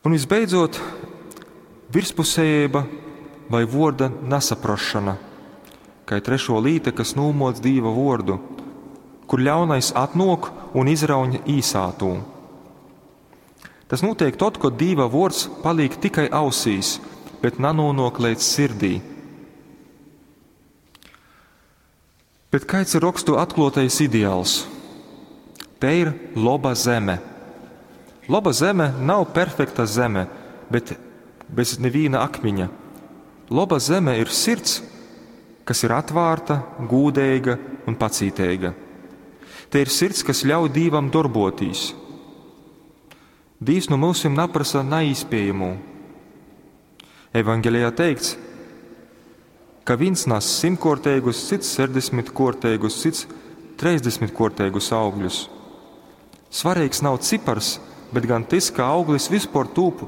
Un visbeidzot, virspusējība vai vuorda nesaprašana, kā trešo līta, kas nūmoc Dīva vuordu, kur ļaunais atnok un izrauņ īsātū. Tas notiek tad, kad Dīva vuords paliek tikai ausīs, bet nanonok līdz sirdī. Bet kāds ir rakstu atklātais ideāls? Te ir laba zeme. Laba zeme nav perfekta zeme, bet bez neviena akmeņa. Laba zeme ir sirds, kas ir atvērta, gūdīga un pacītīga. Te ir sirds, kas ļauj Dīvam darbotīs. Dīvs no mūsim naprasa neizpējamo. Evangelijā teikts, ka viens nes simtkorteigus, cits sešdesmitkorteigus, cits trīsdesmitkorteigus augļus. Svarīgs nav cipars, bet gan tas, ka auglis vispār tūp